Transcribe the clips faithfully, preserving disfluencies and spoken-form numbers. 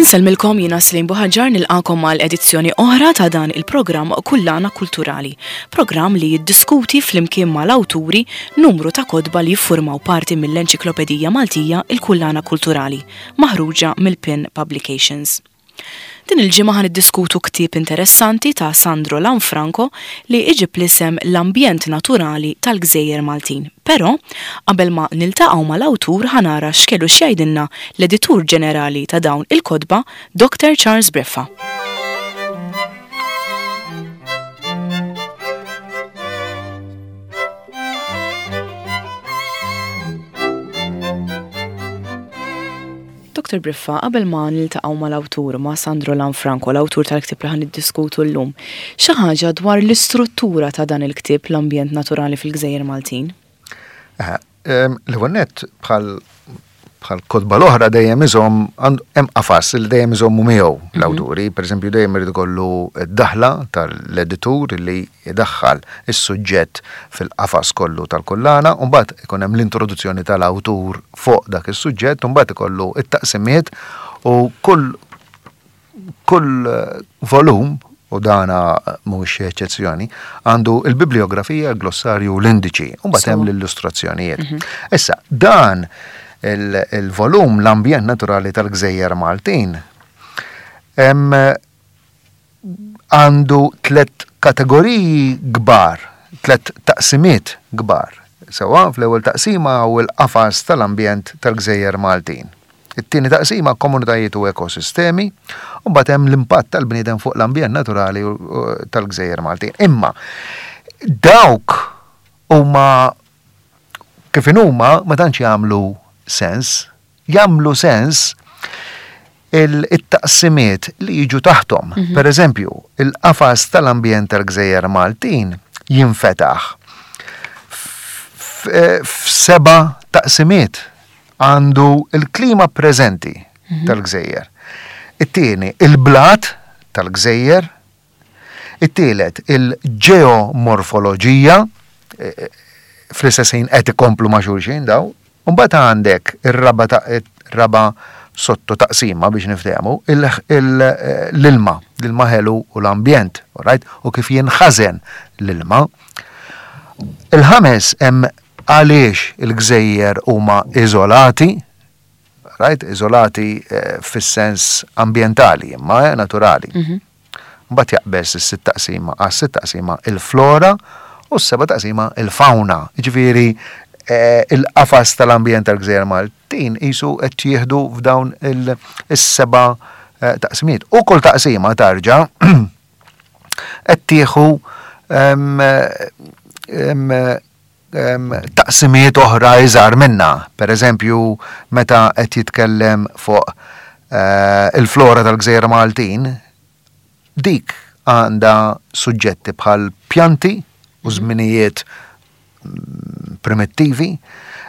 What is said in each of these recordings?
Insellmilkom, jiena Slim Buħaġar, nilqakom għal edizzjoni oħra ta' dan il-programm Kullana Kulturali, programm li jiddiskuti flimkien mal-awturi numru ta' kotba li jiffurmaw parti mill-Enċiklopedija Maltija, il-Kullana Kulturali, maħruġa mill-Pin Publications. Din il-ġimgħa ħa niddiskutu ktieb interessanti ta' Sandro Lanfranco li iġib l-isem L-Ambjent Naturali tal-Gżejjer Maltin. Però, qabel ma niltaqgħu mal-awtur, ħa nara x'kellu x'jgħidilna l-editur ġenerali ta' dawn il-kotba, Doctor Charles Breffa. Doctor Briffa, qabel ma niltaqgħu mal-awtur, ma' Sandro Lanfranco, l-awtur tal-ktieb li ħa niddiskutu llum, xi ħaġa dwar l-istruttura ta' dan il-ktieb L-Ambjent Naturali fil-Gżejjer Maltin? L-ewwel nett, bħal bħal kotba l-oħra, dejjem iżomm, hemm qafas li dejjem iżommu miegħu l-awturi. Pereżempju, dejjem irid ikollu d-daħla tal-editur li jdaħħal is-suġġett fil-qafas kollu tal-kullana, u mbagħad ikun hemm l-introduzzjoni tal-awtur fuq dak is-suġġett, u mbagħad ikollu it-taqsimiet u kull kull volum, u dana mhux eċċezzjoni, għandu il-bibliografija, il-glossarju u l-indiċi, u mbagħad hemm l-illustrazzjonijiet. Issa, dan il-volum L-Ambjent Naturali tal-Gżejjer Maltin għandu tlet kategoriji kbar, tlet taqsimiet kbar. Sewa, fl-ewwel taqsima hu l-qafas tal-ambjent tal-Gżejjer Maltin. It-tieni taqsima komunitajiet u ekosistemi, u mbagħad hemm l-impatt tal-bniedem fuq l-ambjent naturali tal-Gżejjer Maltin. Imma dawk huma kif inhuma ma tantx jagħmlu sens, jagħmlu sens il-taqsimiet li jiġu taħtom. Mhm. Per eżempju, il-qafas tal-ambjent tal-Gżejjer Maltin jinfetaħ f'seba' taqsimiet. Għandu il-klima preżenti Mhm. tal-Gżejjer. It-tieni, il-blat tal-Gżejjer. It-tielet, il-ġeomorfoloġija, e, e, fl-istess ħin qed ikomplu ma' xulxin daw. U mbagħad għandek ir-raba ta' ir-raba sotto taqsima biex niftehmu, l-ilma, l-ilma ħelu u l-ambjent, right? U kif jinħażen l-ilma. Il-ħames hemm għaliex il-gżejjer huma iżolati, right? Iżolati, eh, fis-sens ambjentali, imma, eh, naturali. Mhm. Mbagħad jaqbeż is-sitt taqsima, għas-sitt taqsima il-flora u s-seba' taqsima il-fauna. Jiġifieri, eh, il-qafas tal-ambjent tal-Gżejjer Maltin qisu qed jieħdu f'dawn il-seba', eh, taqsimiet. U kull taqsima tarġa' qed tieħu, ehm, ehm, ehm, taqsimiet oħra iżgħar minna. Per eżempju, meta qed jitkellem fuq, eh, il-flora tal-Gżejjer Maltin, dik għandha suġġetti bħal pjanti u żminijiet primittivi,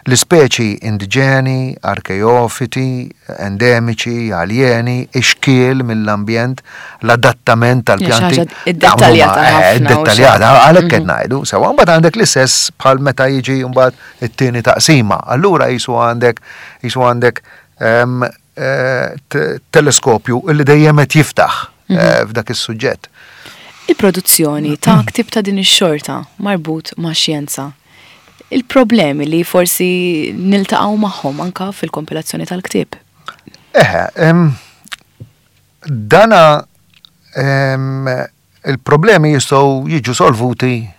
l-ispeċi indiġeni, arkeofiti, endemiċi, aljeni, ixkiel mill-ambjent, l-adattament tal-pjanti. Xi ħaġa iddettaljata Dawn huma, eh, ħafna u iddettaljata, xi- għalhekk qed Mhm. ngħidu. Sewa, mbagħad għandek l-istess bħal meta jiġi mbagħad it-tieni taqsima. Allura jisu għandek, jisu għandek, ehm, eh, te-, teleskopju illi dejjem qed jiftaħ, Mhm. eh, f'dak is-suġġett. Il-produzzjoni ta' ktieb ta' din ix-xorta marbut ma' xjenza. Il-problemi li forsi niltaqgħu magħhom anka fil-kompilazzjoni tal-ktieb. Eħe, em, dana, em, il-problemi jistgħu jiġu solvuti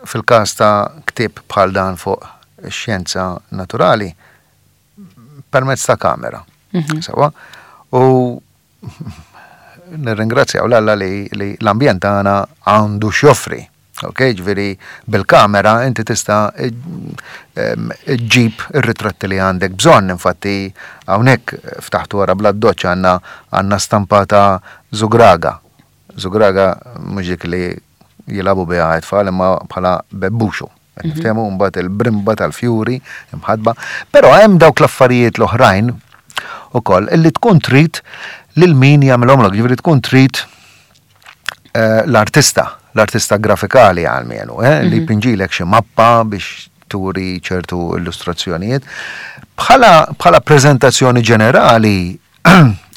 fil-każ ta' ktieb bħal dan fuq ix-xjenza naturali permezz ta' kamera. Mhm. Sewa? U nirringrazzjaw l-Alla li, li l-ambjent tagħna għandu x'joffri. Ok, ġifieri bil-kamera inti tista' ġġib ir-ritratti li għandek bżonn. Infatti hawnhekk ftaħtu wara bla doċċ għandna, għandna stampata Żugraga. Żugraga mhux dik li jilagħbu biha t-tfal imma bħala bebbuxu. Mhm. Niftehmu mbagħad il-brimba tal-fjuri imħadba. Però hemm dawk l-affarijiet l-oħrajn ukoll illi tkun trid lil min jagħmilhomlok, ġifieri tkun trid, eh, l-artista, l-artista grafikali għalmenu, eh, li Mhm. jpinġilek xi mappa biex turi ċertu illustrazzjonijiet. Bħala, bħala preżentazzjoni ġenerali,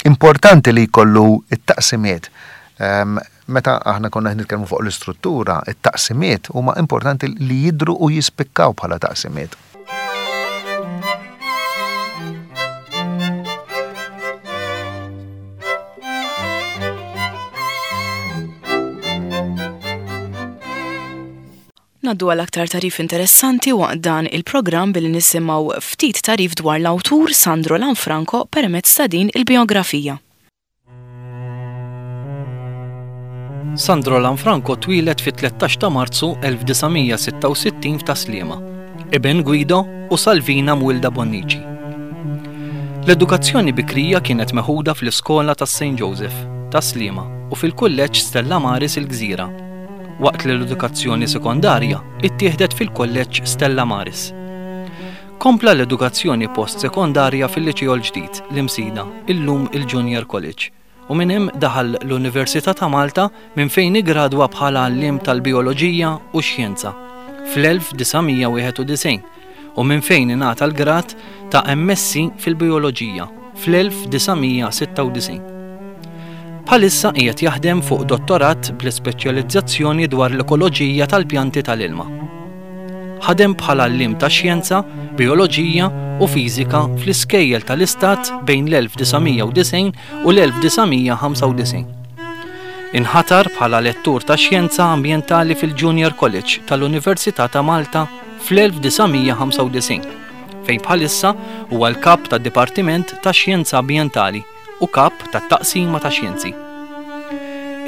Importanti li jkollu it-taqsimiet. Ehm, meta aħna konna nitkellmu fuq l-istruttura, it-taqsimiet huma importanti li jidru u jispikkaw bħala taqsimiet. Ngħaddu għal aktar tagħrif interessanti waqt dan il-programm billi nisimgħu ftit tagħrif dwar l-awtur Sandro Lanfranco permezz ta' din il-biografija. Sandro Lanfranco twieled fit-tlettax ta' Marzu elf disa' mija sitta u sittin f'Tas-Sliema, iben Guido u Salvina Mwilda Bonnici. L-edukazzjoni bikrija kienet meħuda fl-iskola ta' Saint Joseph, Tas-Sliema u fil-kulleġġ Stella Maris il-Gżira, waqt li l-edukazzjoni sekondarja ittieħdet fil-kulleġġ Stella Maris. Kompla l-edukazzjoni post-sekondarja fil-Liċeo l-ġdid, l-Imsida, illum il-Junior College, u minn hemm daħal l-Università ta' Malta minn fejn iggradwa bħala għalliem tal-Bioloġija u Xjenza fl-elf disa' mija wieħed u disgħin u minn fejn ingħata l-grad ta' M S C fil-Bioloġija fl-elf disa' mija sitta u disgħin. Bħalissa qiegħed jaħdem fuq dottorat bl-ispeċjalizzazzjoni dwar l-ekoloġija tal-pjanti tal-ilma. Ħadem bħala għalliem ta' xjenza, bioloġija u fiżika fl-iskejjel tal-Istat bejn l-elf disa' mija u disgħin u l-elf disa' mija ħamsa u disgħin. Inħatar bħala lettur ta' xjenza ambjentali fil-Junior College tal-Università ta' Malta fl-elf disa' mija ħamsa u disgħin, fejn bħalissa huwa l-kap tad-Dipartiment ta' Xjenza Ambjentali u kap tat-Taqsima ta' Xjenzi.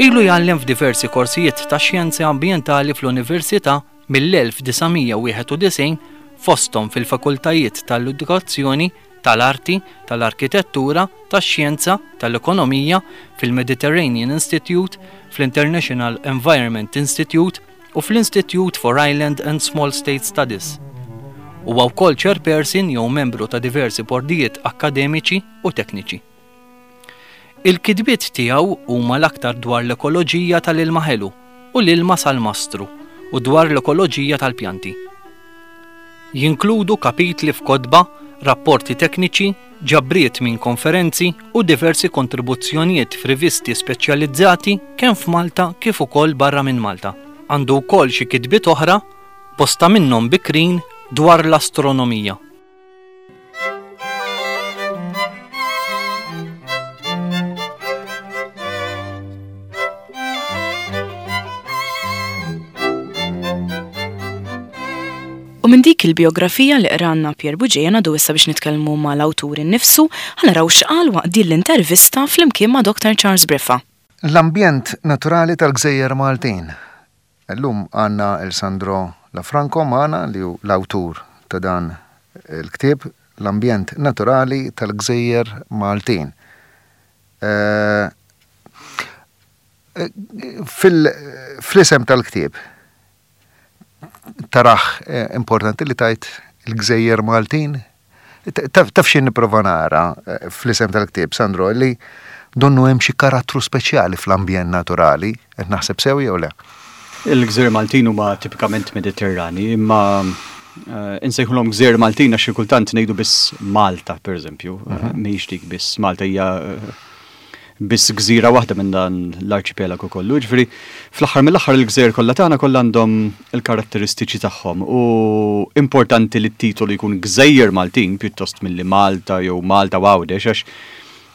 Ilu jgħallem f'diversi korsijiet ta' xjenzi ambjentali fl-Università mill-elf disa' mija wieħed u disgħin fosthom fil-fakultajiet tal-edukazzjoni, tal-arti, tal-arkitettura, tax-xjenza, tal-ekonomija, fil-Mediterranean Institute, fl-International Environment Institute u fl-Institute for Island and Small State Studies. Huwa wkoll chairperson jew membru ta' diversi bordijiet akkademiċi u tekniċi. Il-kitbiet tiegħu huma l-aktar dwar l-ekoloġija tal-ilma ħelu u l-ilma salmastru u dwar l-ekoloġija tal-pjanti. Jinkludu kapitli f'kotba, rapporti tekniċi, ġabriet minn konferenzi u diversi kontribuzzjonijiet f'rivisti speċjalizzati kemm f'Malta kif ukoll barra minn Malta. Għandu wkoll xi kitbiet oħra, bosta minnhom bikrin dwar l-astronomija. U minn dik il-biografija li qranna Pierre Bugeja ngħaddu issa biex nitkellmu mal-awtur innifsu, ħa naraw x'qal waqt din l-intervista flimkien ma' Doktor Charles Briffa. L-ambjent naturali tal-Gżejjer Maltin. Illum għandna il Sandro Lanfranco magħna li hu l-awtur ta' dan il-ktieb L-ambjent naturali tal-Gżejjer Maltin. Eh, fil-, fl-isem tal-ktieb taraħ, eh, importanti li tajt il-Gżejjer Maltin? Taf, taf xi nipprova nara, eh, fl-isem tal-ktieb, Sandro, li donnu hemm xi karattru speċjali fl-ambjent naturali, qed naħseb sew jew le? Il-Gżejjer Maltin huma tipikament Mediterrani, imma, eh, insejħulhom Gżejjer Maltin għax xi kultant ngħidu biss Malta, pereżempju, Mhm. mhijiex dik biss Malta hija, eh, biss gżira waħda minn dan l-arċipelagu kollu. Ġifieri, fl-aħħar mill-aħħar il-gżejjer kollha tagħna kollha għandhom il-karatteristiċi tagħhom u importanti li t-titolu jkun Gżejjer Maltin pjuttost milli Malta jew Malta u Għawdex, għax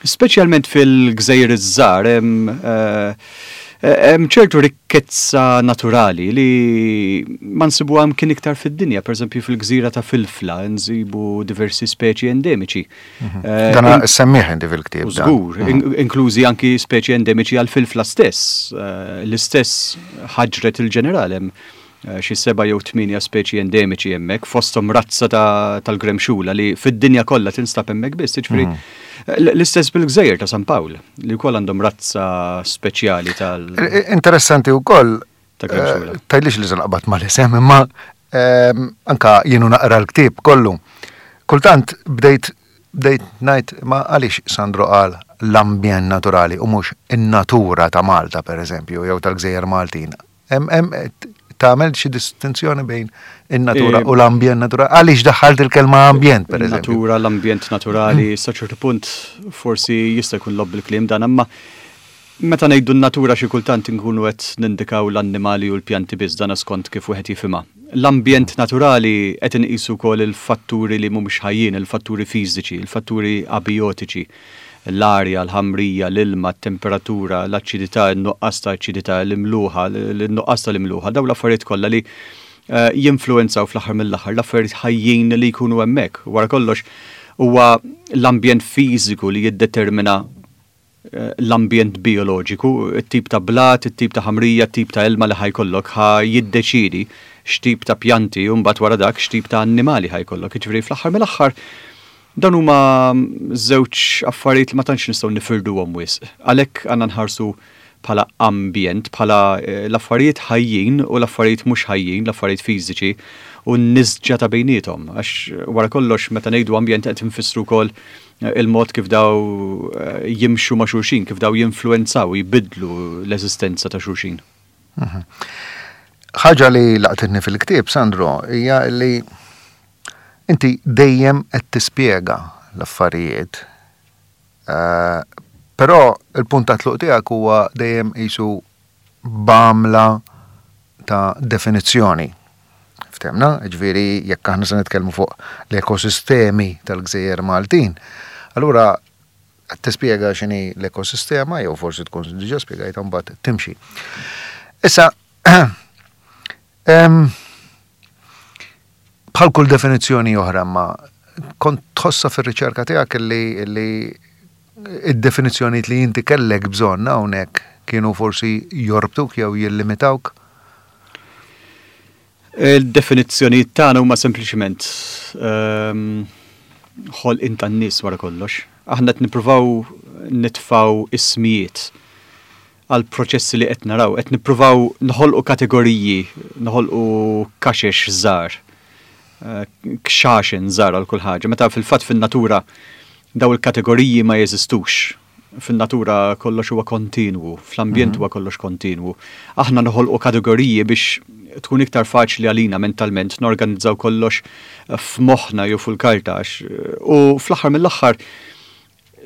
speċjalment fil-gżejjer iż-żgħar hemm, eh, hemm ċertu rikkezza naturali li ma nsibuha mkien iktar fid-dinja. Pereżempju fil-gżira ta' Filfla nsibu diversi speċi endemiċi. Mhm. Eh, Dan in- semmih inti fil-ktieb, U dan. żgur, Mhm. in-, inklużi anki speċi endemiċi għal Filfla stess. Eh, l-istess ħaġret il-ġeneral hemm, eh, xi seba' jew tmienja speċi endemiċi hemmhekk, fosthom razza ta-, tal-gremxula li fid-dinja kollha tinstab hemmhekk biss, jiġifieri, Mhm. l-, l-istess bil-Gżejjer ta' San Pawl, li wkoll għandhom razza speċjali tal- Eh, eh, interessanti wkoll, ta' gremxula. eh, tgħidlix li żanqbad mal-isem, imma, ehm, anka jienu naqra l-ktieb kollu. Kultant bdejt, bdejt ngħid ma għaliex Sandro qal l-ambjent naturali u mhux in-natura ta' Malta pereżempju jew tal-Gżejjer Maltin. Hemm, hemm, Tagħmel xi distinzjoni bejn in-natura u l-ambjent naturali? Għaliex daħħalt il-kelma ambjent, per eżempju? Natura, l-ambjent naturali, sa ċertu punt forsi jista' jkun logħob bil-kliem dan, imma meta ngħidu n-natura xi kultant inkunu qed nindikaw l-annimali u l-pjanti biss, dan skont kif wieħed jifhimha. L-ambjent naturali qed inqisu wkoll il-fatturi li mhumiex ħajjin, il-fatturi fiżiċi, il-fatturi abiotiċi, l-arja, l-ħamrija, l-ilma, t-temperatura, l-aċidità, in-nuqqas ta' aċidità, l-imluħa, l-nuqqas tal-imluħa, dawn l-affarijiet kollha li eh, jinfluwenzaw fl-aħħar mill-aħħar l-affarijiet ħajjin li jkunu hemmhekk. Wara kollox huwa l-ambjent fiżiku li jiddetermina eh, l-ambjent bioloġiku, it-tip ta' blat, it-tip ta' ħamrija, it-tip ta' ilma li ħa jkollok ħa jiddeċidi x'tip ta' pjanti u mbagħad wara dak x'tip ta' annimali ħa jkollok. Jiġifieri fl-aħħar mill-aħħar dan huma żewġ affarijiet li ma tantx nistgħu nifirduhom wisq. Għalhekk għandna nħarsu bħala ambjent, bħala eh, l-affarijiet ħajjin u l-affarijiet mhux ħajjin, l-affarijiet fiżiċi u n-nisġa ta' bejniethom. Għax wara kollox meta ngħidu ambjent qed nfissru wkoll eh, il-mod kif daw eh, jimxu ma' xulxin, kif daw jinfluwenzaw, jibidlu l-eżistenza ta' xulxin. Mhm. Ħaġa li laqtitni fil-ktieb, Sandro, hija li inti dejjem qed tispjega l-affarijiet. Eh, però il-punt ta' tluq tiegħek huwa dejjem qisu b'għamla ta' definizzjoni. Ftemna, ġifieri jekk aħna se nitkellmu fuq l-ekosistemi tal-Gżejjer Maltin, allura qed tispjega x'inhi l-ekosistema, jew forsi tkun diġà spjegajtha mbagħad timxi. Issa, em, bħal kull definizzjoni oħra, ma kont tħossa fir-riċerka tiegħek li, li id-definizzjonijiet li inti kellek bżonn hawnhekk kienu forsi jorbtuk jew jillimitawk? Il-definizzjonijiet tagħna huma sempliċiment ehm, ħolqien tan-nies wara kollox. Aħna qed nippruvaw nitfgħu ismijiet għal proċessi li qed naraw, qed nippruvaw noħolqu kategoriji, noħolqu kaxex żgħar, eh, kxaxen żgħar għal kull ħaġa. Meta fil-fatt fin-natura daw il-kategoriji ma jeżistux. Fin-natura kollox huwa kontinwu, fl-ambjent huwa kollox kontinwu. Aħna noħolqu kategoriji biex tkun iktar faċli għalina mentalment norganizzaw kollox f'moħħna jew fuq il-karta għax u fl-aħħar mill-aħħar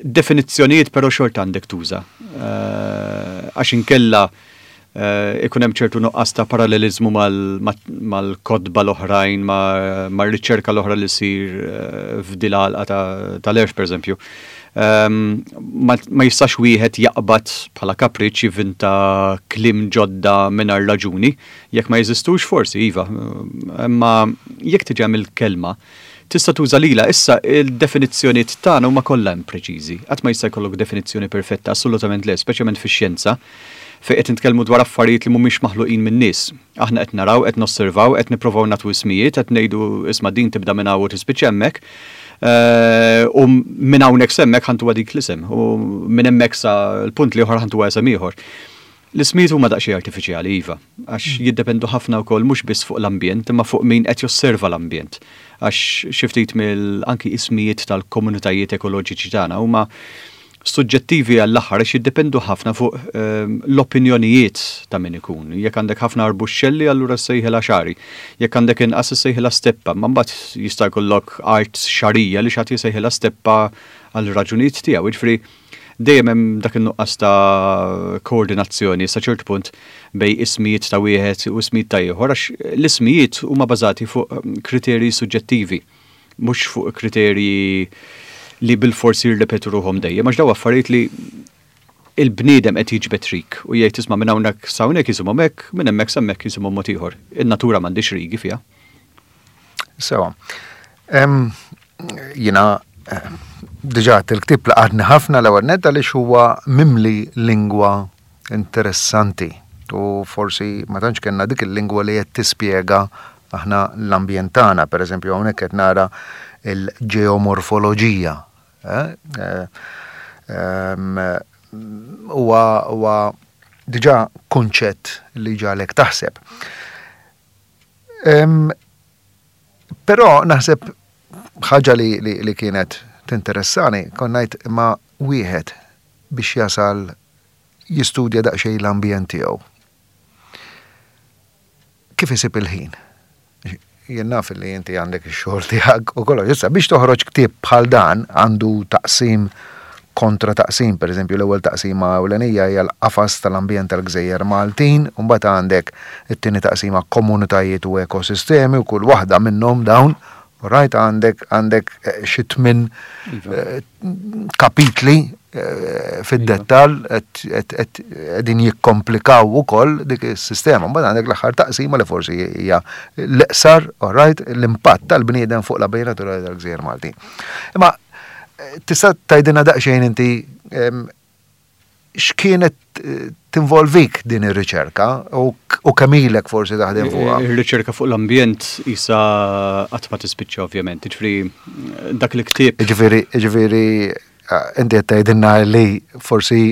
definizzjonijiet però xorta għandek tuża. Eh, għax inkella eh, ikun hemm ċertu nuqqas ta' parallelizmu mal-kotba l-oħrajn, mar-riċerka l-oħra li ssir eh, f'dil għalqa tal-għerf, per eżempju. Ehm, ma jistax wieħed jaqbad bħala kapriċ jivvinta kliem ġodda mingħajr raġuni, jekk ma jeżistux forsi, iva, imma jekk tiġi il-kelma, tista' tuża lila. Issa il-definizzjonijiet tagħna huma kollha impreċiżi. Qatt ma jista' jkollok definizzjoni perfetta, assolutament le, speċjalment fix-xjenza, fejn qed nitkellmu dwar affarijiet li mhumiex maħluqin min-nies. Aħna qed naraw, qed nosservaw, qed nippruvaw nagħtu ismijiet, qed ngħidu isma' din tibda minn hawn u tispiċċa hemmhekk. Eh, u minn hawnhekk s'hemmhekk ħa ntuha dik l-isem u minn hemmhekk sa l-punt l-ieħor ħa ntuha isem ieħor. L-ismijiet huma daqsxejn artifiċjali, iva, għax mm. jiddependu ħafna wkoll mhux biss fuq l-ambjent, imma fuq min qed josserva l-ambjent. Għax xi ftit mill anki ismijiet tal-komunitajiet ekoloġiċi tagħna huma suġġettivi għall-aħħar għax jiddependu ħafna fuq ehm, l-opinjonijiet ta' min ikun. Jekk għandek ħafna arbuxxelli, allura ssejħilha xagħri. Jekk għandek inqas issejħilha steppa, ma mbagħad jista' jkollok art xagħrija li xi ħadd jsejħilha steppa għal raġunijiet tiegħu. Jiġifieri dejjem hemm dak in-nuqqas ta' koordinazzjoni sa ċertu punt bejn ismijiet ta' wieħed u ismijiet ta' ieħor għax l-ismijiet huma bażati fuq kriterji suġġettivi, mhux fuq kriterji li bil-forsi jirrepetu ruħhom dejjem, għax daw affarijiet li il-bniedem qed jiġbed rig u jgħid isma' minn hawnhekk sa hawnhekk jisimhom hekk, minn hemmhekk sa hemmhekk jisimhom mod ieħor. In-natura m'għandix rigi fiha. Sewa. Jiena eh, diġà il-ktieb laqatni ħafna l-ewwel nett għaliex huwa mimli lingwa interessanti u forsi ma tantx kellna dik il-lingwa li qed tispjega aħna l-ambjent tagħna, pereżempju hawnhekk qed nara il-ġeomorfoloġija. Eh, eh, huwa huwa diġà kunċett li ġagħlek taħseb. Però naħseb ħaġa li, li, li kienet tinteressani, kont ngħid ma wieħed biex jasal jistudja daqsxejn l-ambjent tiegħu. Kif isib il-ħin? Jien naf li inti għandek ix-xogħol tiegħek u kollox. Issa biex toħroġ ktieb bħal dan għandu taqsim kontra taqsim, per eżempju l-ewwel taqsima ewlenija hija l-qafas tal-ambjent tal-Gżejjer Maltin, u mbagħad għandek it-tieni taqsima komunitajiet u ekosistemi u kull waħda minnhom dawn, right, għandek għandek eh, xi tmien eh, kapitli eh, fid-dettall qegħdin jikkomplikaw ukoll dik is-sistema. Mbagħad għandek l-aħħar taqsima li forsi hija l-iqsar, right, l-impatt tal-bniedem fuq l-ambjent naturali tal-Gżejjer Maltin. Imma tista' tgħidilna daqsxejn inti x'kienet tinvolvik din ir-riċerka u kemm ilek forsi taħdem fuqha? Ir-riċerka fuq l-ambjent isa qatt ma tispiċċa ovvjament, jiġifieri dak il-ktieb. Jiġifieri, jiġifieri inti qed tgħidilna li forsi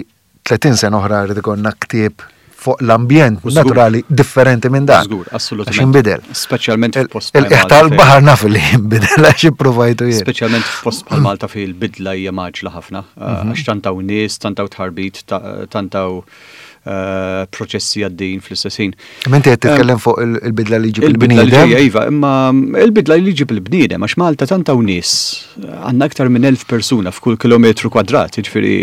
tletin sena oħra rrid ikollna ktieb fuq l-ambjent naturali differenti minn dan. Żgur, assolutament. Għax inbidel. Speċjalment f'post Il- bħal Tal-baħar naf li jinbidel għax ipprovajtu jien. Speċjalment f'post bħal Malta fejn il-bidla hija mgħaġġla ħafna. Għax tant hawn nies, tant hawn tħarbit, tant hawn proċessi għaddejjin fl-istess ħin. Imma inti qed titkellem fuq il-bidla li ġib Il-bidla li il-bniedem. ġejja, iva, imma il-bidla li ġib il-bniedem, għax Malta tant hawn nies, għandna aktar minn elf persuna f'kull kilometru kwadrat, jiġifieri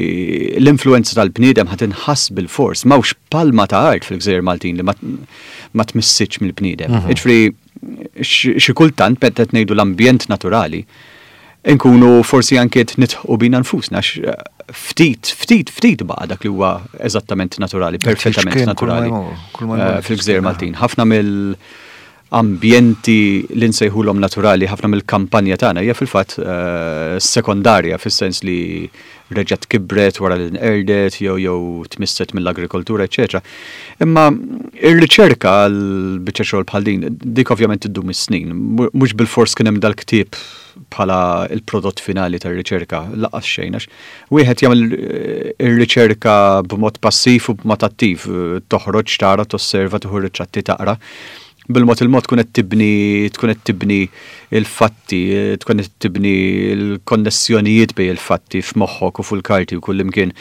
l-influenza tal-bniedem ħa tinħass bil-fors, m'hawnx palma ta' art fil-Gżejjer Maltin li ma tmissitx mill-bniedem. Jiġifieri xi kultant meta qed ngħidu l-ambjent naturali, nkunu forsi anke qed nidħqu bina nfusna, għax ftit, ftit, ftit baqa' dak li huwa eżattament naturali, perfettament X'kien kull ma naturali jmur, kull ma eh, jmur. fil-Gżejjer Maltin. Ħafna mill-ambjenti li nsejħulhom naturali, ħafna mill-kampanja tagħna hija fil-fatt eh, sekondarja fis-sens li reġgħet kibret wara li nqerdet jew jew tmisset mill-agrikoltura, eċetera. Imma ir-riċerka għal biċċa xogħol bħal din, dik ovvjament iddum is-snin, mhux bil-fors kien hemm dal-ktieb bħala il-prodott finali tar-riċerka, lanqas xejn, għax wieħed jagħmel ir-riċerka b'mod passiv u b'mod attiv, toħroġ tara, tosserva, tieħu ritratti, taqra. Bil-mod il-mod tkun qed tibni, tkun qed tibni il-fatti, tkun qed tibni l-konnessjonijiet bejn il-fatti f'moħħok u fuq il-karti u kull imkien.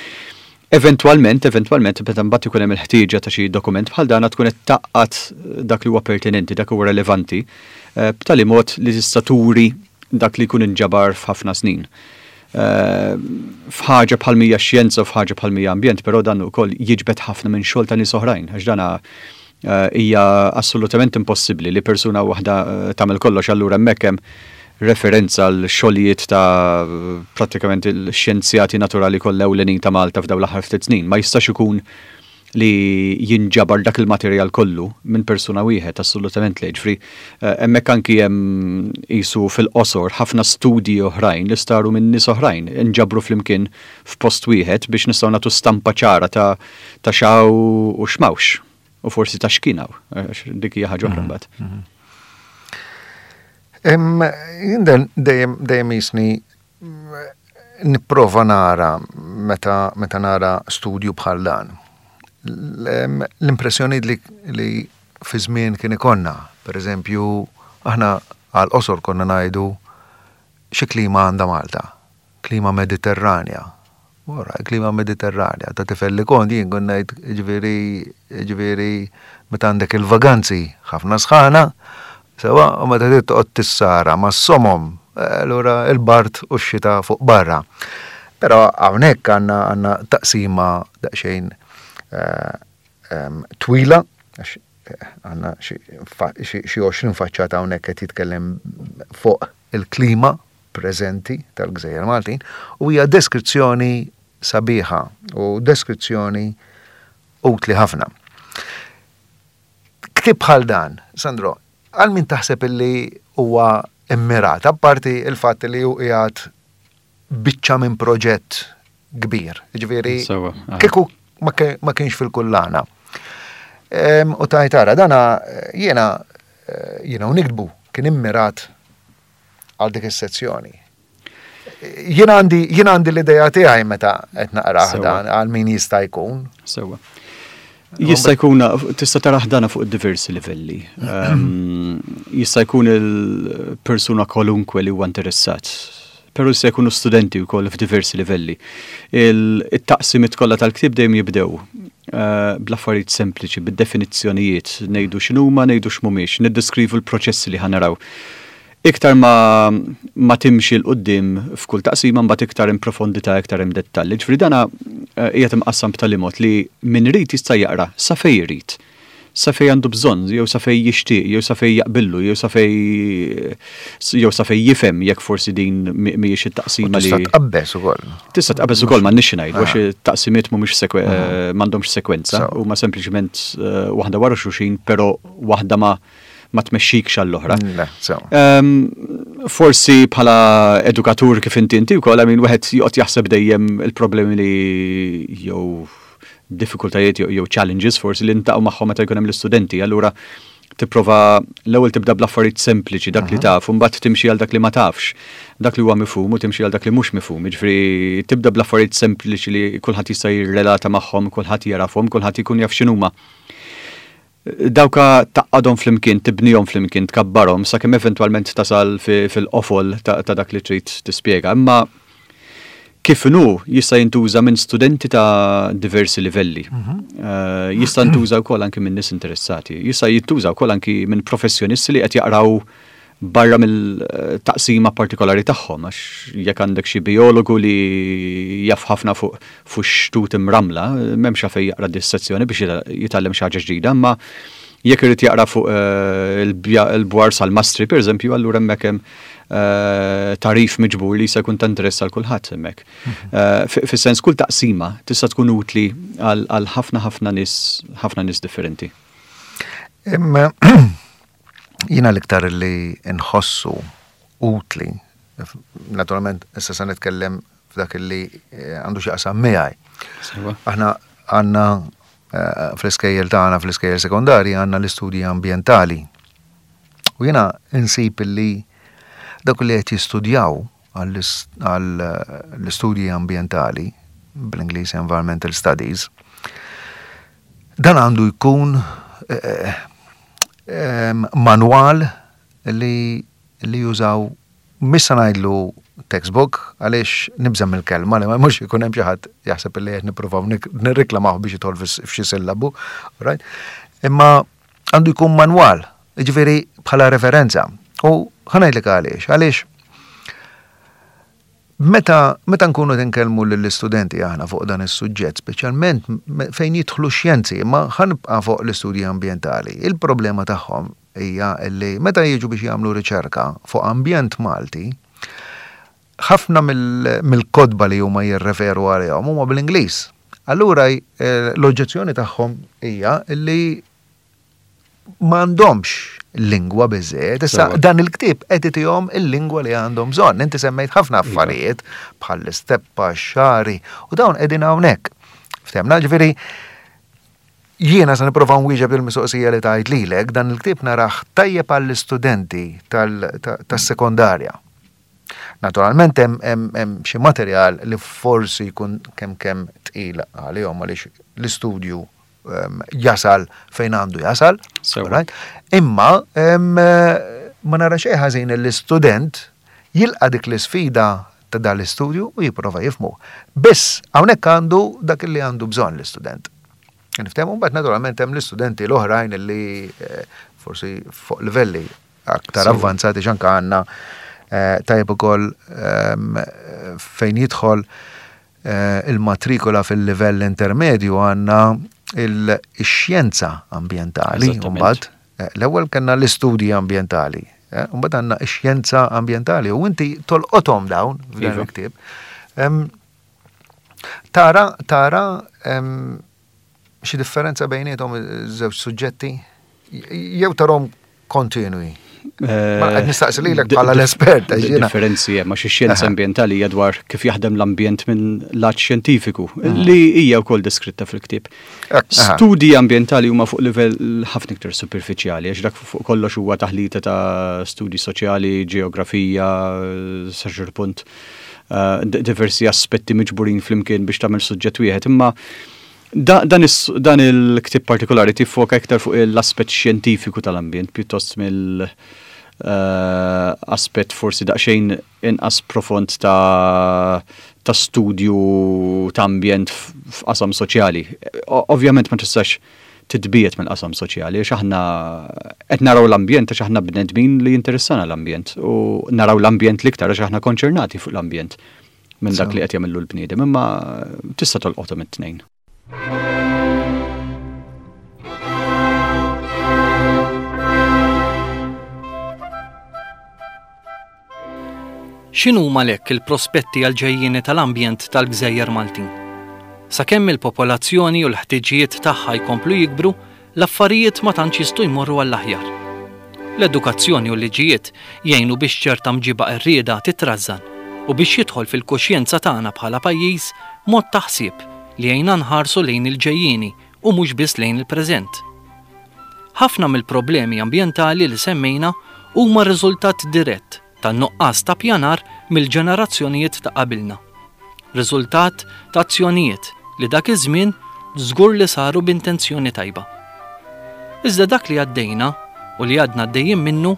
Eventwalment, eventwalment, meta mbagħad ikun hemm il-ħtieġa ta' xi dokument bħal dan tkun qed tgħaqqad dak li huwa pertinenti, dak huwa relevanti, eh, b'tali mod li tista' turi dak li jkun inġabar f'ħafna snin. Eh, f'ħaġa bħal mija xjenza u f'ħaġa bħal mija ambjent, però dan ukoll jiġbed ħafna minn xogħol ta' nies oħrajn, għax dana eh, hija assolutament impossibbli li persuna waħda eh, tagħmel kollox, allura hemmhekk hemm referenza għal xogħlijiet ta' prattikament il-xjenzjati naturali kollha ewlenin ta' Malta f'dawn l-aħħar ftit snin. Ma jistax ikun li jinġabar dak il-materjal kollu minn persuna wieħed, assolutament le. Ġifieri, eh, hemmhekk anki hemm qisu fil-qosor ħafna studji oħrajn li saru minn nies oħrajn inġabru flimkien f'post wieħed biex nistgħu nagħtu stampa ċara ta' ta' x'hawn u x'm'hawnx u forsi ta' x'kien hawn, għax dik hija ħaġa oħra mbagħad. Em, Jien dejjem dejjem jisni nipprova nara meta meta nara studju bħal dan. L- L-impressjoni li, li fi żmien kien ikollna, per eżempju, aħna għal qosor konna ngħidu xi klima għandha Malta, klima Mediterranja. Ora, klima Mediterranja, ta' tifel li kont jien kont ngħid ġifieri ġifieri meta għandek il-vaganzi ħafna sħana, sewa u meta trid toqgħod tissara ma' somom, allura il-bard u x-xita fuq barra. Però hawnhekk għandna għandna taqsima daqsxejn eh, em, twila, għax eh, għandna xi fa- xi xi għoxrin faċċata hawnhekk qed jitkellem fuq il-klima preżenti tal-Gżejjer Maltin u hija deskrizzjoni sabiħa u deskrizzjoni utli ħafna. Ktieb bħal dan, Sandro, għal min taħseb illi huwa immirat, apparti il-fatt li hu qiegħed biċċa minn proġett kbir, ġifieri Sewa, aha. kieku ma ke- ma kienx fil-kullana. Em, U tajt ara, dana eh, jiena eh, jiena u niktbu kien immirat għal dik is-sezzjoni. Jiena għandi jiena għandi l-idea tiegħi meta qed naqrah Sewa. dan għal min jista' jkun. Sewa. Jista' jkun tista' taraħ dana fuq diversi livelli. Um, jista' jkun il-persuna kwalunkwe li huwa interessat. Però jista' jkunu studenti wkoll f'diversi livelli. Il-taqsimiet kollha tal-ktieb dejjem jibdew eh, bl-affarijiet sempliċi, bid-definizzjonijiet, ngħidu x'inhuma, ngħidu x'mhumiex, niddeskrivu l-proċessi li ħa naraw. Iktar ma, ma timxi 'l quddiem f'kull taqsima, mbagħad iktar in profondità, iktar hemm dettalji. Ġifieri dana eh, qiegħed imqassam b'tali mod li min irid jista' jaqra sa fejn irid. Sa fejn għandu bżonn, jew sa fejn jixtieq, jew sa fejn jaqbillu, jew sa fejn jew sa fejn jifhem jekk forsi din mhijiex it-taqsima li. Tista' tqabbeż ukoll. Tista' tqabbeż ukoll, m'għandniex ngħidu, għax it-taqsimiet mhumiex sekwe eh, m'għandhomx sekwenza, huma sempliċement eh, waħda wara xulxin, però waħda ma ma tmexxikx għall-oħra. Le, sew. Ehm, forsi bħala edukatur kif inti inti wkoll, I mean, wieħed joqgħod jaħseb dejjem il-problemi li jew diffikultajiet jew jew challenges forsi li ntaqgħu magħhom meta jkun hemm l-istudenti. Allura tipprova l-ewwel tibda bl-affarijiet sempliċi, dak li taf, u mbagħad timxi għal dak li ma tafx, dak li huwa mifhum u timxi għal dak li mhux mifhum. Jiġifieri tibda bl-affarijiet sempliċi li kulħadd jista' jirrelata magħhom, kulħadd jarafhom, kulħadd ikun jaf x'inhuma. Dawka tgħaqqadhom flimkien, tibnihom flimkien, tkabbarhom sakemm eventwalment tasal fi- fil-qofol ta' ta' dak li trid tispjega. Imma kif inhu jista' jintuża minn studenti ta' diversi livelli. Eh, Jista' jintuża wkoll anki minn nies interessati. Jista' jintuża wkoll anki minn professjonisti li qed jaqraw barra mill-taqsima partikolari tagħhom, għax jekk għandek xi biologu li jaf ħafna fuq fuq xtut imramla, m'hemmx għalfejn jaqra dis-sezzjoni biex jitgħallem xi ħaġa ġdida, imma jekk irid jaqra fuq eh, il-bja- il-bwar salmastri, per eżempju, allura hemmhekk hemm eh, tagħrif miġbur li jista' jkun ta' interess għal kulħadd hemmhekk. Eh, fi- Fis-sens kull taqsima tista' tkun utli għal għal ħafna ħafna nies ħafna nies differenti. Imma jiena l-iktar li nħossu utli, naturalment issa se nitkellem f'dak li eh, għandu x'jaqsam miegħi. Sewa. Aħna għandna eh, fl-iskejjel tagħna, fl-iskejjel sekondarji, għandna l-istudji ambjentali. U jiena insib li dak li qed jistudjaw għall-istudji ambjentali, bl-Ingliż Environmental Studies, dan għandu jkun eh, em, manwal li, li jużaw, mhux se ngħidlu textbook, għaliex nibża' mill-kelma li ma mhux ikun hemm xi ħadd jaħseb li qed nippruvaw nirriklamaw biex jidħol f'xi sillabu, right? Imma għandu jkun manwal, jiġifieri bħala referenza. U ħa ngħidlek għaliex, għaliex meta meta nkunu tinkellmu lill-istudenti aħna fuq dan is-suġġett, speċjalment fejn jidħlu xjenzi, imma ħa nibqa' fuq l-istudji ambjentali, il-problema tagħhom hija li meta jiġu biex jagħmlu riċerka fuq ambjent Malti, ħafna mill-kotba li huma jirreferu għalihom huma bl-Ingliż. Allura eh, l-oġġezzjoni tagħhom hija li m'għandhomx lingwa biżejjed. Issa dan il-ktieb qed itihom il-lingwa li għandhom bżonn. Inti semmejt ħafna iva. affarijiet bħal l-isteppa, xari u dawn qegħdin hawnhekk. Ftehmna, ġifieri jiena se nipprova nwieġeb il-mistoqsija li tajt lilek, dan il-ktieb narah tajjeb għall-istudenti tas-sekondarja. Naturalment hemm xi materjal li forsi jkun kemm kemm tqil għalihom għaliex l-istudju jasal fejn għandu jasal. Imma ma nara xejn ħażin l-istudent jilqa' dik l-isfida ta' dan l-istudju u jipprova jifhmu. Biss hawnhekk għandu dak li għandu bżonn l-istudent. Niftehmu, mbagħad naturalment hemm l-istudenti l-oħrajn li eh, forsi fuq livelli aktar avvanzati, x'anka għandna eh, tajjeb ukoll fejn jidħol eh, il-matrikola fil-livell intermedju għandna il-xjenza ambientali. Mbagħad l-ewwel kellna l-istudji ambjentali. Mbagħad għandna x-xjenza ambjentali u inti tolqothom dawn f'dan iva. il-ktieb. Tara, tara xi differenza bejniethom iż-żewġ suġġetti jew tarahom kontinwi? Ma qed nistaqsi lilek bħala l-espert. Differenzi hemm, għax ix-xjenza ambjentali hija dwar kif jaħdem l-ambjent minn lat xjentifiku li hija wkoll deskritta fil-ktieb. Studji ambjentali huma fuq livell ħafna iktar superfiċjali, għax dak fuq kollox huwa taħlita ta' studji soċjali, ġeografija, sa ċertu punt eh, diversi aspetti miġburin flimkien biex tagħmel suġġett wieħed. Imma dan il-ktieb partikolari tiffoka iktar fuq l-aspett xjentifiku tal-ambjent pjuttost mill eh, aspett forsi daqsxejn inqas profond ta' ta' studju ta' ambjent f'qasam soċjali. Ovvjament ma tistax titbiegħed mill-qasam soċjali, għax aħna qed naraw l-ambjent għax aħna bnedmin li jinteressana l-ambjent u naraw l-ambjent l-iktar għax aħna konċernati fuq l-ambjent minn dak li qed jagħmlu l-bniedem, imma tista' tolqothom it-tnejn. X'inhuma għalhekk il-prospetti għall-ġejjieni tal-ambjent tal-Gżejjer Maltin? Sakemm il-popolazzjoni u l-ħtiġijiet tagħha jkomplu jikbru, l-affarijiet ma tantx jistgħu jmorru għall-aħjar. L-edukazzjoni u l-liġijiet jgħinu biex ċerta mġiba qerrieda titrażżan u biex jidħol fil-kuxjenza tagħna bħala pajjiż mod ta' ħsieb li jgħinna nħarsu lejn il-ġejjieni u mhux biss lejn il-preżent. Ħafna mill-problemi ambjentali li semmejna huma riżultat dirett tan-nuqqas ta' pjanar mill-ġenerazzjonijiet ta' qabilna. Riżultat ta' azzjonijiet li dak iż-żmien żgur li saru b'intenzjoni tajba. Iżda dak li għaddejna u li għadna għaddejjin minnu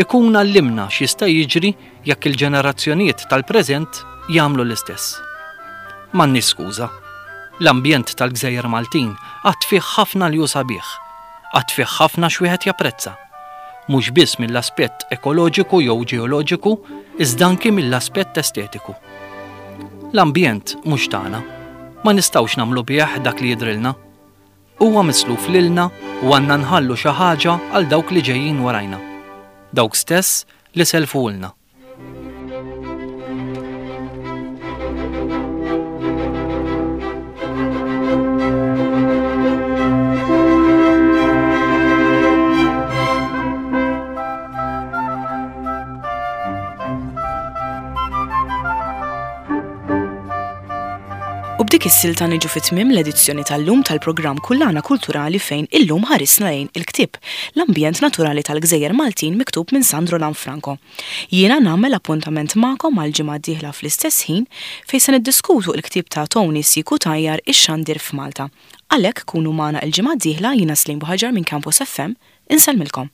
ikun għallimna x'jista' jiġri jekk il-ġenerazzjonijiet tal-preżent jagħmlu l-istess. M'għandniex skuża. L-ambjent tal-Gżejjer Maltin għad fih ħafna li hu sabiħ, għad fih ħafna x'wieħed japprezza. Mhux biss mill-aspett ekoloġiku jew ġeoloġiku, iżda anki mill-aspett estetiku. L-ambjent mhux tagħna, ma nistgħux nagħmlu bih dak li jidrilna. Huwa misluf lilna u għandna nħallu xi ħaġa għal dawk li ġejjin warajna. Dawk stess li selfulna. U b'dik is-silta niġu fi tmiem l-edizzjoni tal-lum tal-programm Kullana Kulturali fejn illum ħarisna lejn il-ktieb L-Ambjent Naturali tal-Gżejjer Maltin miktub minn Sandro Lanfranco. Jiena nagħmel appuntament magħkom għal ġimgħa d-dieħla fl-istess ħin fejn se niddiskutu l-ktieb ta' Tony C. Cutajar Ix-Xandir f'Malta. Għalhekk kunu magħna l-ġimgħa d-dieħla, jiena Slim Buhaġar minn Campus F M, insellmilkom.